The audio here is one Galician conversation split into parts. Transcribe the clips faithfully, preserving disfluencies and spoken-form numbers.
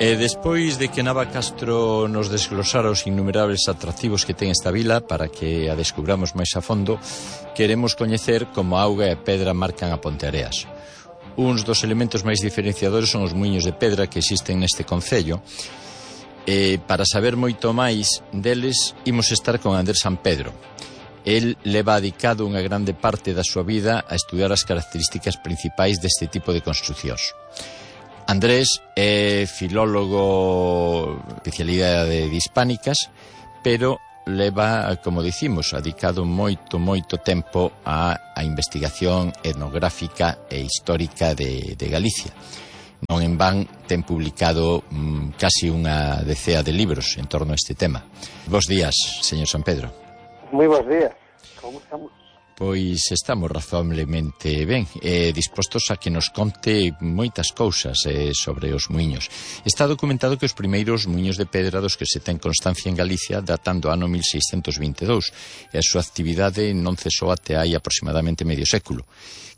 E despois de que Nava Castro nos desglosara os innumerables atractivos que ten esta vila para que a descubramos máis a fondo, queremos coñecer como a auga e a pedra marcan a Ponteareas. Uns dos elementos máis diferenciadores son os muiños de pedra que existen neste concello. E para saber moito máis deles, imos estar con Andrés San Pedro. El leva dedicado unha grande parte da súa vida a estudiar as características principais deste tipo de construcións. Andrés é filólogo, especialidade de hispánicas, pero leva, como dicimos, dedicado moito, moito tempo á, á investigación etnográfica e histórica de, de Galicia. Non en van ten publicado mm, casi unha decea de libros en torno a este tema. Bos días, señor San Pedro. Moi bons días, como estamos? Pois estamos razonablemente ben, eh, dispostos a que nos conte moitas cousas eh, sobre os muiños. Está documentado que os primeiros muiños de pedra dos que se ten constancia en Galicia datan do ano mil seiscentos vinte e dous e a súa actividade non cesou até hai aproximadamente medio século.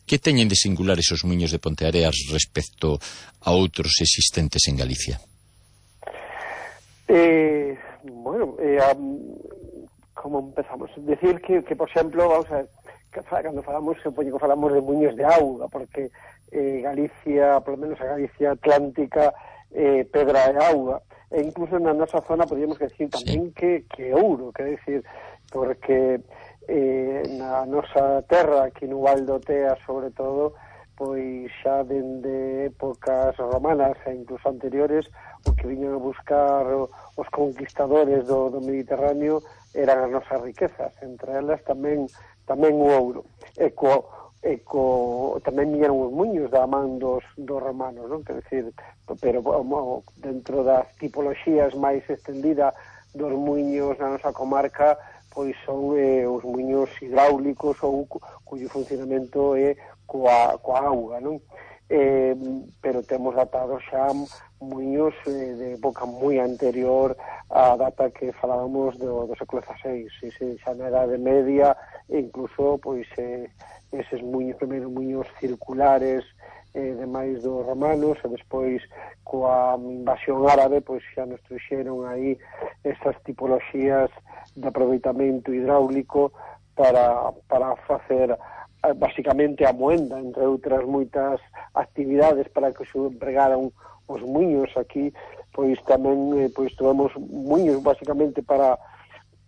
Que teñen de singular esos muiños de Ponteareas respecto a outros existentes en Galicia? Eh, bueno, eh, um, como empezamos? Decir que, que por exemplo, vamos a ver, cando falamos, supoño que falamos de muiños de auga, porque eh, Galicia, polo menos a Galicia Atlántica, eh, pedra e auga, e incluso na nosa zona podríamos decir tamén sí. que, que ouro, quer decir, porque eh, na nosa terra, aquí no Val do Tea, sobre todo, pois xa dende épocas romanas e incluso anteriores, o que viñan a buscar os conquistadores do, do Mediterráneo eran as nosas riquezas, entre elas tamén tamén o ouro. E co, e co tamén viñeron os muiños da man dos, dos romanos, non? Quer decir, pero como, dentro das tipoloxías máis extendida dos muiños na nosa comarca, pois son eh, os muiños hidráulicos ou cuyo funcionamento é coa, coa auga, non? Eh, pero temos datados xa muiños eh, de época moi anterior á data que falábamos do, do século dieciséis, sí, sí, xa na Edade Media, e incluso pois eh, eses muiños, primeiros muiños circulares eh, demais dos romanos, e despois coa invasión árabe pois xa nos trouxeron aí estas tipoloxías de aproveitamento hidráulico para, para facer basicamente a moenda, entre outras moitas actividades para que se empregaran os muiños aquí, pois tamén eh, pois tivemos muiños basicamente para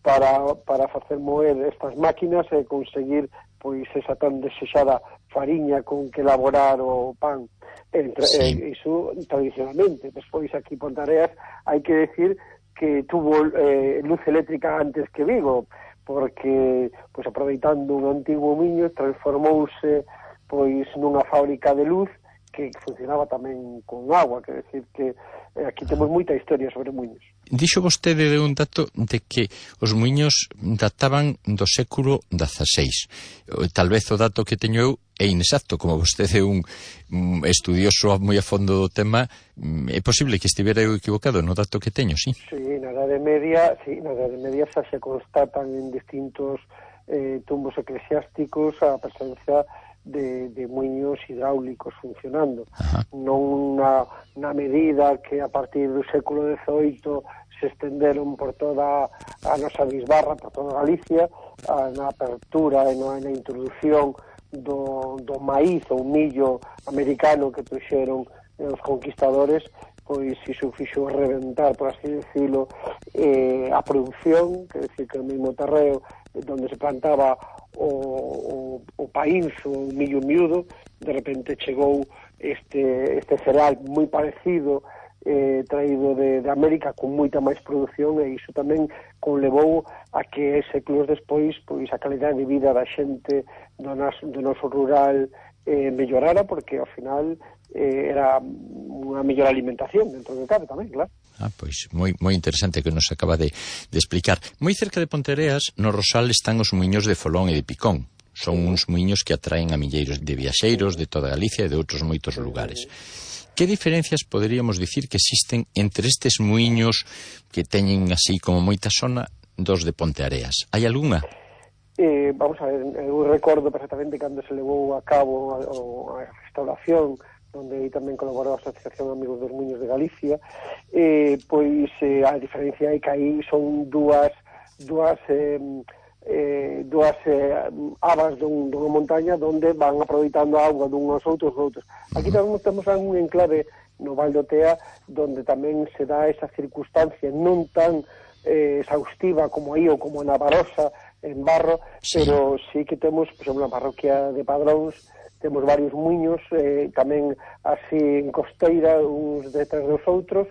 para para facer moer estas máquinas e conseguir pois esa tan desexada fariña con que elaborar o pan. Entre, sí. eh, iso tradicionalmente. Despois aquí en Ponteareas hai que decir que tuvo eh, luz eléctrica antes que Vigo, porque pois aproveitando un antigo muiño transformouse pois nunha fábrica de luz que funcionaba tamén con agua, quer decir que eh, aquí temos moita historia sobre muiños. Dixo vostede de un dato de que os muiños databan do século dieciséis. Tal vez o dato que teño eu é inexacto, como vostede é un estudioso moi a fondo do tema, é posible que estivera eu equivocado no dato que teño, sí? Sí, na Edade Media, sí, na Edade Media xa se constatan en distintos eh, tumbos eclesiásticos a presencia de, de muiños hidráulicos funcionando. Ajá. Non na, na medida que a partir do século dezoito se estenderon por toda a nosa bisbarra, por toda Galicia, a, na apertura e na, na introducción do, do maíz ou millo americano que trouxeron os conquistadores, pois iso fixo reventar, por así decirlo, eh, a produción, que decir que o mesmo terreo donde se plantaba o, o, o paínzo, o millo miúdo, de repente chegou este, este cereal moi parecido, eh, traído de, de América con moita máis produción, e iso tamén conlevou a que séculos despois pois a calidade de vida da xente do, nas, do noso rural eh, mellorara, porque ao final eh, era unha mellor alimentación dentro do cabe tamén, claro. Ah, pois moi moi interesante que nos acaba de, de explicar. Moi cerca de Ponteareas, no Rosal, están os muiños de Folón e de Picón. Son uns muiños que atraen a milleiros de viaxeiros de toda Galicia e de outros moitos lugares. Que diferencias poderíamos dicir que existen entre estes muiños que teñen así como moita sona dos de Ponteareas? Hai algunha? Eh, vamos a ver, eu recordo perfectamente cando se levou a cabo a, a restauración onde aí tamén colaborou a Asociación Amigos dos Muiños de Galicia, eh, pois eh, a diferencia é que aí son dúas dúas eh, eh, dúas eh, abas dun, dunha montaña onde van aproveitando a auga dunhos outros outros. Aquí tamén temos un enclave no Val do Tea, donde tamén se dá esa circunstancia non tan eh, exhaustiva como aí ou como na Barosa, en Barro, sí. Pero sí que temos, por exemplo, na parroquia de Padróns, temos varios muiños, eh, tamén así en costeira, uns detrás dos outros,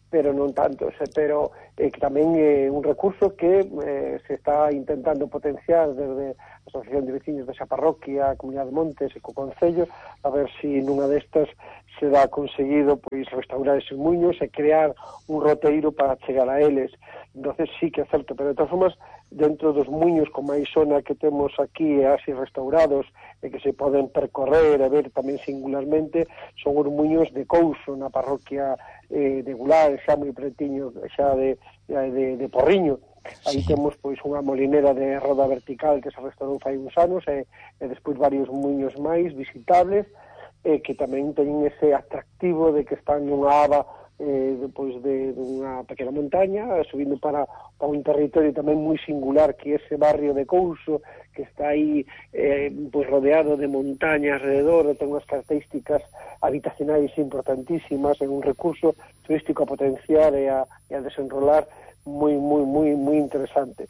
pero non tantos, eh, pero eh, que tamén é eh, un recurso que eh, se está intentando potenciar desde a Asociación de Veciños desa parroquia, a Comunidade de Montes e co Concello, a ver se si nunha destas se dá conseguido pois restaurar eses muiños e crear un roteiro para chegar a eles. Entonces sí que é certo, pero de todas formas, dentro dos muiños con máis zona que temos aquí e así restaurados e que se poden percorrer e ver tamén singularmente, son os muiños de Couso, na parroquia eh, de Gular, xa moi pretiño xa de, de, de Porriño. Aí sí. Temos pois unha molinera de roda vertical que se restaurou fai uns anos e, e despois varios muiños máis visitables e que tamén teñen ese atractivo de que están nunha aba eh, depois de, de unha pequena montaña, subindo para, para un territorio tamén moi singular que é ese barrio de Couso, que está aí eh, pois rodeado de montaña alrededor, ten unhas características habitacionais importantísimas, é un recurso turístico a potenciar e a, e a desenrolar moi, moi, moi, moi interesante.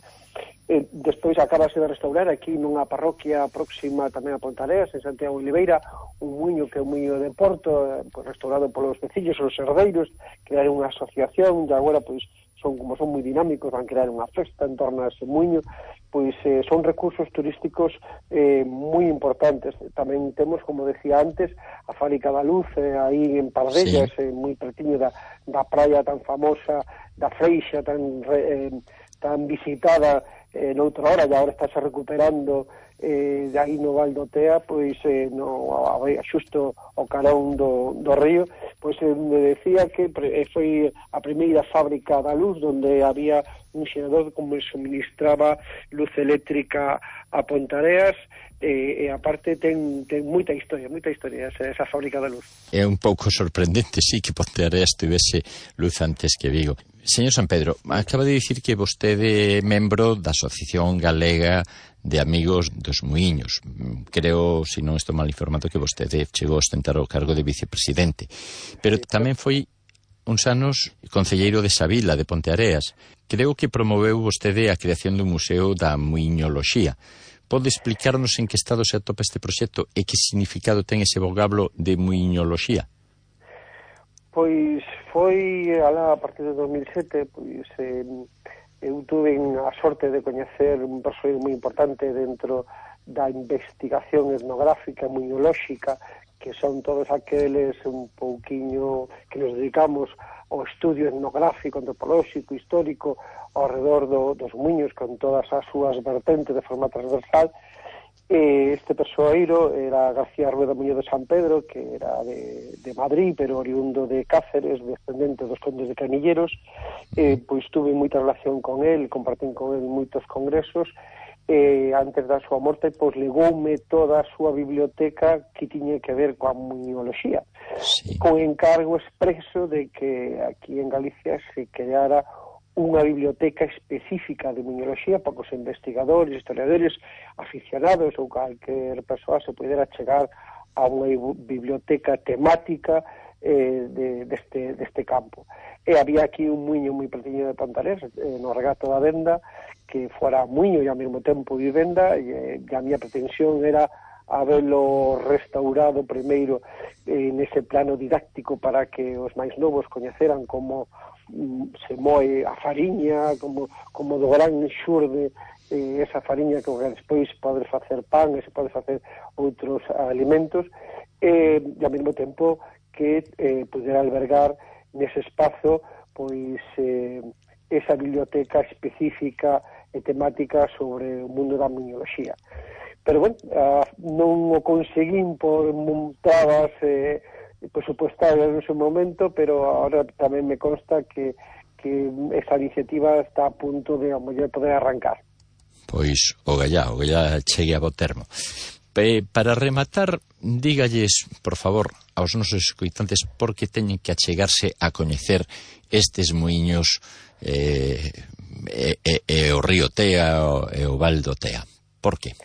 Eh, despois acabase de restaurar aquí nunha parroquia próxima tamén a Pontareas, en Santiago de Oliveira, un muiño que é un muiño de Porto, eh, pues, restaurado polos veciños, os herdeiros, crearon unha asociación, e agora, pois, son como son moi dinámicos, van crear unha festa en torno a ese muiño, pois eh, son recursos turísticos eh, moi importantes. Tamén temos, como decía antes, a Fábrica da Luz, eh, aí en Pardellas, sí. eh, moi pretiño da, da praia tan famosa, da Freixa, tan, eh, tan visitada eh, noutra hora, e agora estáse recuperando eh, de aí no Val do Tea, pois eh, no, a, a, xusto ao carón do, do río, pois eh, me decía que pre, foi a primeira fábrica da luz onde había un xerador como suministraba luz eléctrica a Pontareas e, e aparte ten, ten moita historia, moita historia esa, esa fábrica da luz. É un pouco sorprendente, sí, que Pontareas tivese luz antes que Vigo. Señor San Pedro, acaba de dicir que vostede é membro da Asociación Galega de Amigos dos Muiños. Creo, se non estou mal informado, que vostede chegou a ostentar o cargo de vicepresidente. Pero tamén foi uns anos concelleiro de Savila, de Ponteareas. Creo que promoveu vostede a creación dun museo da muiñoloxía. Pode explicarnos en que estado se atopa este proxecto e que significado ten ese vocablo de muiñoloxía? Pois foi alá a partir de dos mil sete, pois eh, eu tuve a sorte de coñecer un persoeiro moi importante dentro da investigación etnográfica, muiñolóxica, que son todos aqueles un pouquiño que nos dedicamos ao estudio etnográfico, antropolóxico, histórico, ao redor do, dos muiños, con todas as súas vertentes de forma transversal. Este persoeiro era García Rueda Muñoz de San Pedro, que era de, de Madrid, pero oriundo de Cáceres, descendente dos condes de Canilleros. Eh, pois tuve moita relación con él, compartín con él moitos congresos. Eh, antes da súa morte, pois legoume toda a súa biblioteca que tiña que ver coa muiñoloxía, sí. Con encargo expreso de que aquí en Galicia se creara unha biblioteca específica de muiñoloxía para que os investigadores, historiadores, aficionados ou calquer persoa se pudera chegar a unha biblioteca temática eh, de, deste, deste campo. E había aquí un muiño moi pertiño de Pontareas, eh, no regato da Venda, que fora muiño e ao mesmo tempo vivenda, e, e a miña pretensión era habelo restaurado primeiro eh, nese plano didáctico para que os máis novos coñeceran como se moe a fariña, como, como do gran xurde eh, esa fariña que despois pode facer pan e se pode facer outros alimentos, eh, e ao mesmo tempo que eh, pudera albergar nese espazo pois eh, esa biblioteca específica e temática sobre o mundo da muiñoloxía. Pero, bueno, uh, non o conseguín por montadas eh, presupuestarias en ese momento, pero ahora tamén me consta que, que esa iniciativa está a punto de, a mellor, poder arrancar. Pois, o gallá, o gallá chegue a bo termo. Pe, para rematar, dígalles, por favor, aos nosos escoitantes por que teñen que achegarse a coñecer estes muiños eh, e, e, e o río Tea e o Val do Tea. Por que?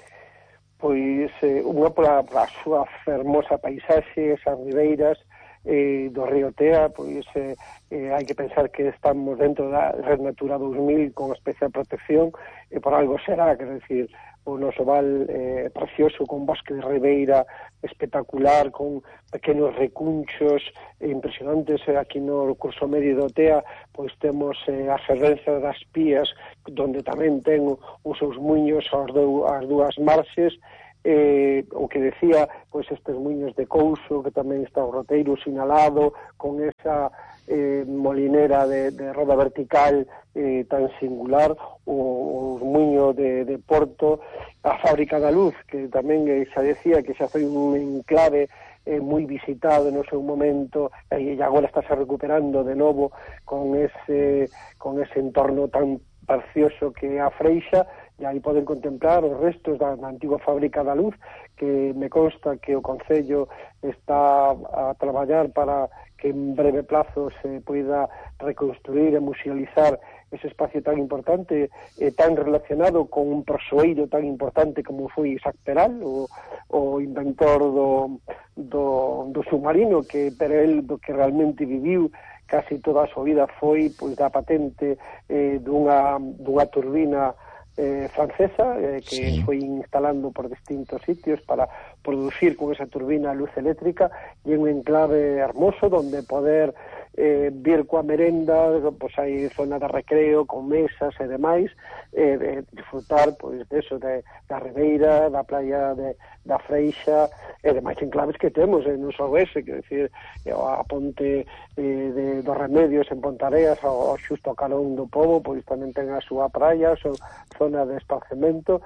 Pois eh, unha pola, pola súa fermosa paisaxe, esas ribeiras eh, do río Tea, pois eh, eh, hai que pensar que estamos dentro da Red Natura dos mil con especial protección, e por algo será, quer decir, o noso val eh, precioso, con bosque de ribeira espectacular, con pequenos recunchos impresionantes. Aquí no curso medio do Tea pois temos eh, a fervenza das Pías, donde tamén ten os seus muiños as, do, as dúas marxes. Eh, o que decía, pois estes muiños de Couso, que tamén está o roteiro sinalado, con esa eh, molinera de, de roda vertical eh, tan singular, o, o muiño de, de Porto, a Fábrica da Luz, que tamén eh, xa decía que xa foi un enclave eh, moi visitado no seu momento, e agora está se recuperando de novo con ese, con ese entorno tan precioso que é a Freixa, e aí poden contemplar os restos da, da antiga Fábrica da Luz, que me consta que o Concello está a traballar para que en breve plazo se poida reconstruir e musealizar ese espacio tan importante e tan relacionado con un persoeiro tan importante como foi Isaac Peral, o, o inventor do, do, do submarino, que pero el do que realmente viviu casi toda a súa vida foi pois da patente eh, dunha, dunha turbina Eh, francesa, eh, que sí. foi instalando por distintos sitios para producir con esa turbina luz eléctrica, e un enclave hermoso donde poder eh, vir coa merenda, pois hai zona de recreo con mesas e demais, eh, de disfrutar pois deso, de, da ribeira, da playa de, da Freixa e demais enclaves que temos eh, non só ese, que decir, a ponte eh, de, dos Remedios en Pontareas, ao, ao xusto ao calón do Pobo, pois tamén ten a súa praia, a súa zona de esparcemento.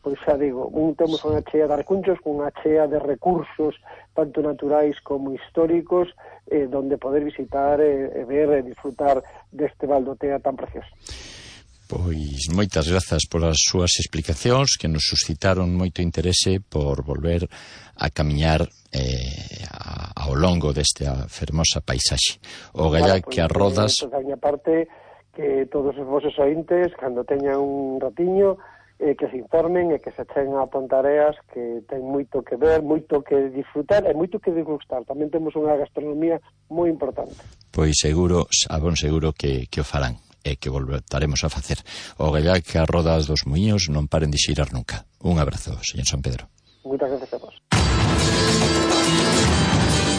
Pois xa digo, un temos unha chea de recunchos, unha chea de recursos tanto naturais como históricos, eh, donde poder visitar e eh, ver e disfrutar deste Val do Tea tan precioso. Pois moitas grazas polas súas explicacións, que nos suscitaron moito interese por volver a camiñar eh, a, ao longo desta fermosa paisaxe. O gallá que as rodas... Da miña parte, que todos os vosos ointes, cando teñan un ratiño, eh, que se informen e que se echen a Pontareas, que ten moito que ver, moito que disfrutar e moito que degustar. Tamén temos unha gastronomía moi importante. Pois seguro, a bon seguro que, que o farán e que voltaremos a facer. O gallá que as rodas dos muiños non paren de xirar nunca. Un abrazo, señor San Pedro. Moitas gracias a vos.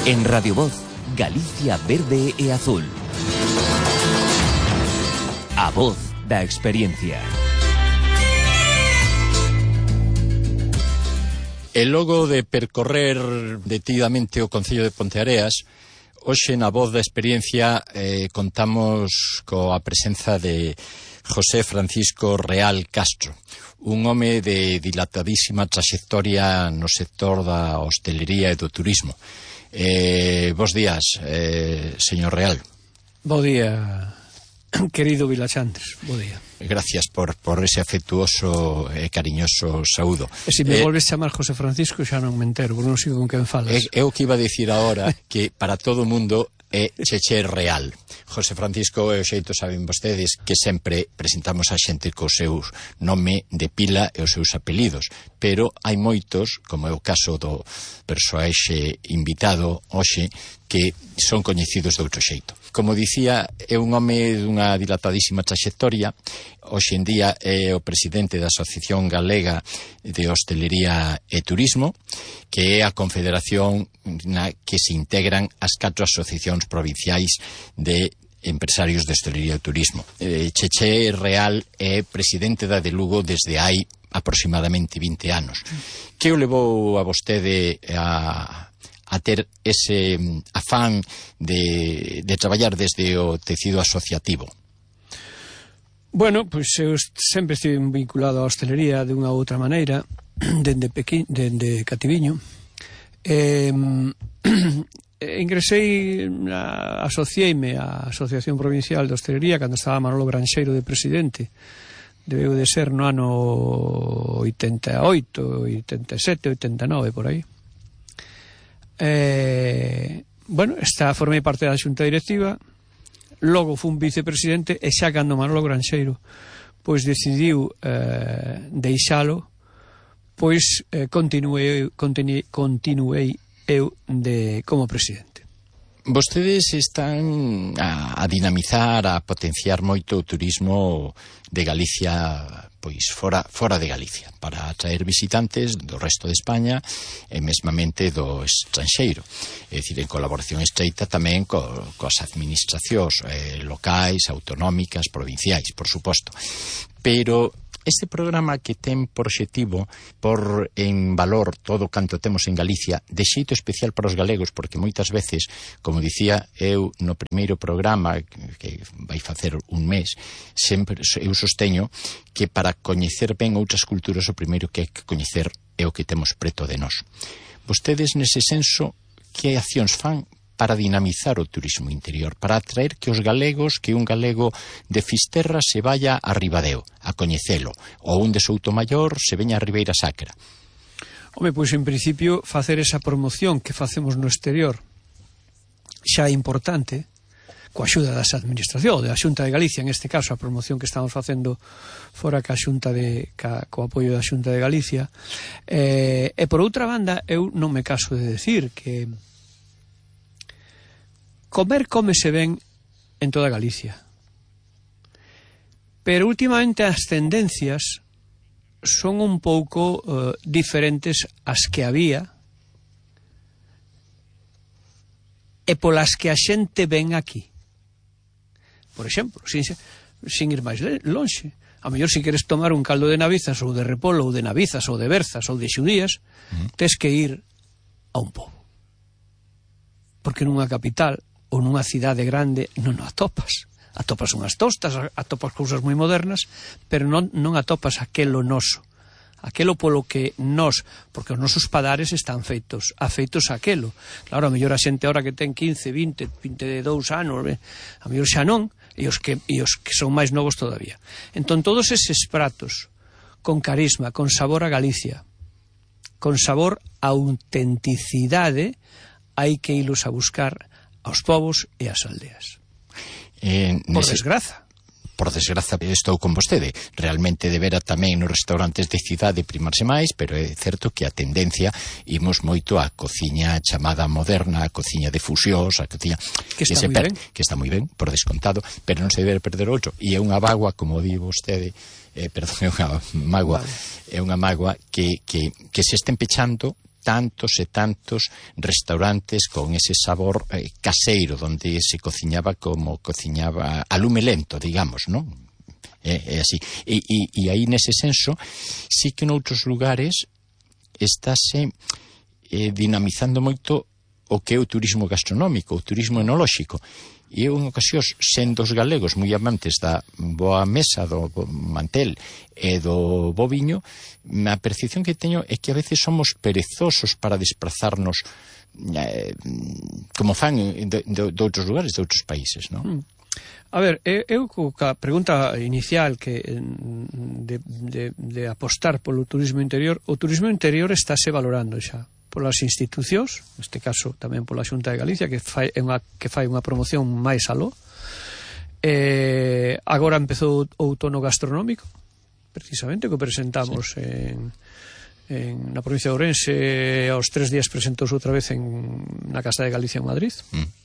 En Radio Voz, Galicia verde e azul. A voz da experiencia. E logo de percorrer detidamente o Concello de Ponteareas, hoxe na voz da experiencia eh, contamos coa presenza de José Francisco Real Castro, un home de dilatadísima traxectoria no sector da hostelería e do turismo. Eh, bos días, eh, señor Real. Bo día, querido Vilachantes, bo día. Gracias por, por ese afectuoso e cariñoso saúdo. E se me eh, volves chamar José Francisco xa non me entero, porque non sigo con quen falas. É o que iba a dicir agora, que para todo o mundo é Cheche Real. José Francisco é o xeito, saben vostedes, que sempre presentamos a xente co seu nome de pila e os seus apelidos, pero hai moitos, como é o caso do persoaxe invitado hoxe, que son coñecidos de outro xeito. Como dicía, é un home dunha dilatadísima traxectoria. Hoxe en día é o presidente da Asociación Galega de Hostelería e Turismo, que é a confederación na que se integran as catro asociacións provinciais de empresarios de hostelería e turismo. Eh, Cheche Real é presidente da de Lugo desde hai aproximadamente vinte anos. Que o levou a vostede a... a ter ese afán de, de traballar desde o tecido asociativo? Bueno, pois eu sempre estive vinculado á hostelería de unha ou outra maneira, dende, pequi, dende Cativiño. Eh, ingresei, na, asociei-me á Asociación Provincial de Hostelería cando estaba Manolo Granxeiro de presidente. Debeu de ser no ano oitenta e oito, oitenta e sete, oitenta e nove, por aí. eh, bueno, está, formei parte da xunta directiva, logo fun vicepresidente, e xa cando Manolo Granxeiro pois decidiu eh, deixalo, pois eh, continuei, continuei, continuei eu de, como presidente. Vostedes están a, a dinamizar, a potenciar moito o turismo de Galicia, pois fora, fora de Galicia, para atraer visitantes do resto de España e mesmamente do estranxeiro. É dicir, en colaboración estreita tamén co, coas administracións eh, locais, autonómicas, provinciais, por suposto. Pero este programa que ten por obxectivo por en valor todo canto temos en Galicia, de xeito especial para os galegos, porque moitas veces, como dicía eu no primeiro programa, que vai facer un mes, sempre eu sosteño que para coñecer ben outras culturas o primeiro que hai que coñecer é o que temos preto de nós. Vostedes, nese senso, que accións fan para dinamizar o turismo interior, para atraer que os galegos, que un galego de Fisterra se vaya a Ribadeo a coñecelo, ou un de Soutomaior se veña a Ribeira Sacra? Home, pois en principio facer esa promoción que facemos no exterior xa é importante, coa axuda das administracións, da Xunta de Galicia, en este caso a promoción que estamos facendo fora ca Xunta de, ca, co apoio da Xunta de Galicia, eh, e por outra banda eu non me caso de decir que comer cómese ben en toda Galicia. Pero últimamente as tendencias son un pouco uh, diferentes ás que había e polas que a xente ven aquí. Por exemplo, sin, sin ir máis lonxe, a mellor se queres tomar un caldo de navizas ou de repolo ou de navizas ou de berzas ou de xudías, mm. tes que ir a un pobo. Porque nunha capital ou nunha cidade grande non o atopas. Atopas unhas tostas, atopas cousas moi modernas, pero non, non atopas aquelo noso. Aquelo polo que nós, porque os nosos padares están feitos, afeitos a aquelo. Claro, a mellor a xente ahora que ten quince, vinte, vinte e dous anos, a mellor xa non, e os que, e os que son máis novos todavía. Entón, todos eses pratos, con carisma, con sabor a Galicia, con sabor a autenticidade, hai que ilos a buscar aos povos e ás aldeas. Eh, por nese... desgraza. Por desgraza, estou con vostede. Realmente debera tamén nos restaurantes de cidade primarse máis, pero é certo que a tendencia imos moito á cociña chamada moderna, a cociña de fusións, a cociña que está, que moi per... ben. que está moi ben, por descontado, pero non se debe perder outro. E é unha bagua, como di vostede, eh, perdón, é unha magua, vale. é unha magua que, que, que se estén pechando tantos e tantos restaurantes con ese sabor eh, caseiro, donde se cociñaba como cociñaba a lume lento, digamos, non? É, é así. E, e, e aí, nese senso, sí que noutros lugares estáse eh, dinamizando moito o que é o turismo gastronómico, o turismo enolóxico. E eu, en ocasións, sendo os galegos moi amantes da boa mesa, do mantel e do bo viño, a percepción que teño é que a veces somos perezosos para desplazarnos eh, como fan de, de, de outros lugares, de outros países, non? A ver, eu ca pregunta inicial que de, de, de apostar polo turismo interior, o turismo interior estáse valorando xa polas institucións, neste caso tamén pola Xunta de Galicia, que fai unha, que fai unha promoción máis aló. Eh, agora empezou o outono gastronómico, precisamente, que presentamos sí. en, en, na provincia de Ourense, aos tres días presentouse outra vez en, na Casa de Galicia en Madrid. Mm.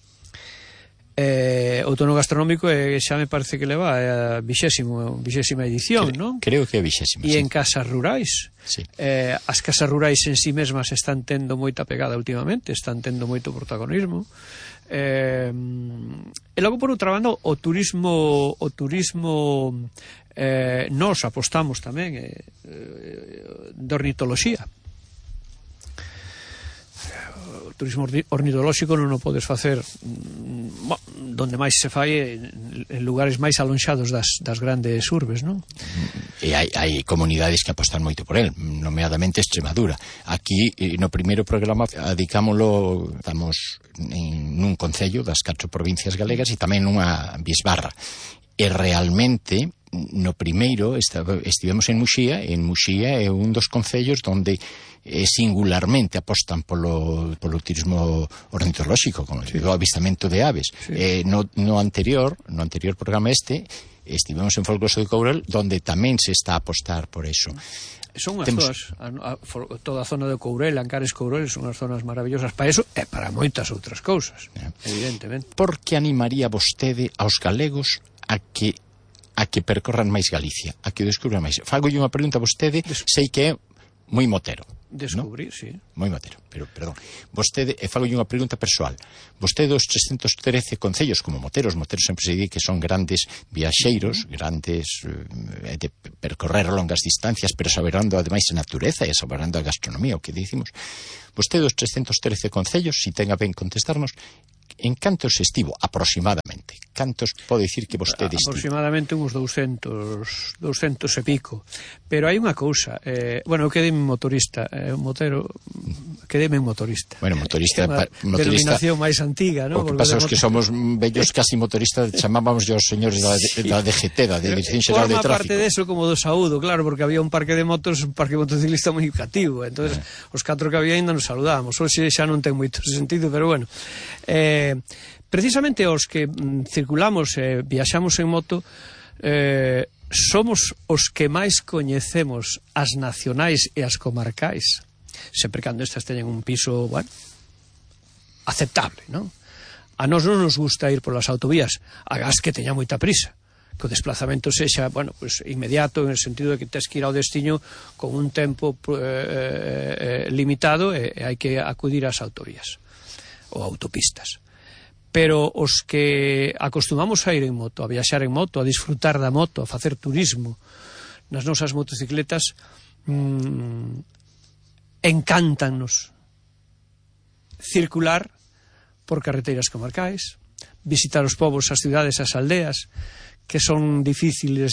Eh, outono gastronómico eh, xa me parece que leva a vixésimo, vixésima edición, Cre non? Creo que é vixésima, E sí. en casas rurais. Sí. Eh, as casas rurais en sí mesmas están tendo moita pegada últimamente, están tendo moito protagonismo. Eh, e logo, por outra banda, o turismo o turismo eh, nos apostamos tamén eh, eh, de ornitoloxía. O turismo ornitolóxico non o podes facer bo, donde máis se fai en lugares máis alonxados das, das grandes urbes, non? E hai, hai comunidades que apostan moito por el, nomeadamente Extremadura. Aquí, no primeiro programa, adicámolo, estamos en nun concello das catro provincias galegas e tamén nunha bisbarra. E realmente no primeiro estaba, estivemos en Muxía, e en Muxía é un dos concellos onde eh, singularmente apostan polo, polo turismo ornitolóxico, con sí. o avistamento de aves. Sí. Eh, no, no anterior, no anterior programa este, estivemos en Folgoso de Courel, donde tamén se está a apostar por eso. Son unhas Temos... zonas, a, a, toda a zona de Courel, Ancares Courel, son unhas zonas maravillosas para eso e para moitas outras cousas, yeah. evidentemente. Por que animaría vostede aos galegos a que a que percorran máis Galicia, a que descubran máis? Fagolle unha pregunta a vostede, Des... sei que é moi motero. Descubrir, ¿no? Sí. Moi motero, pero, perdón. Vostede, e fagolle unha pregunta persoal. Vostede dos trescentos trece concellos, como moteros, moteros sempre se di que son grandes viaxeiros, uh-huh. grandes eh, de percorrer longas distancias, pero saberando ademais a natureza e saberando a gastronomía, o que dicimos. Vostede dos trescentos trece concellos, si ten a ben contestarnos, en cantos estivo, aproximadamente? Cantos pode dicir que vostede estivo? Aproximadamente uns doscientos, doscientos e pico. Pero hai unha cousa, eh, bueno, eu quedei motorista, eh, motero, quedei motorista. Bueno, motorista, é unha denominación máis antiga, ¿no? O que pasa é que somos vellos casi motoristas, chamábamos os señores da, da D G T, da Dirección Xeral de Tráfico. Forma parte deso como do saúdo, claro, porque había un parque de motos, un parque motociclista moi cativo, entonces eh. os catro que había ainda nos saludábamos. Hoxe xa non ten moito sentido, pero bueno. Eh, precisamente os que mm, circulamos e eh, viaxamos en moto eh, somos os que máis coñecemos as nacionais e as comarcais, sempre cando estas teñen un piso, bueno, aceptable, non? A nós non nos gusta ir polas autovías, agás que teña moita prisa, que o desplazamento sexa, bueno, pues inmediato, en el sentido de que tes que ir ao destino con un tempo eh, eh, limitado e, e hai que acudir ás autovías ou autopistas. Pero os que acostumamos a ir en moto, a viaxar en moto, a disfrutar da moto, a facer turismo nas nosas motocicletas, mmm, encántanos circular por carreteiras comarcais, visitar os povos, as cidades, as aldeas, que son difíciles de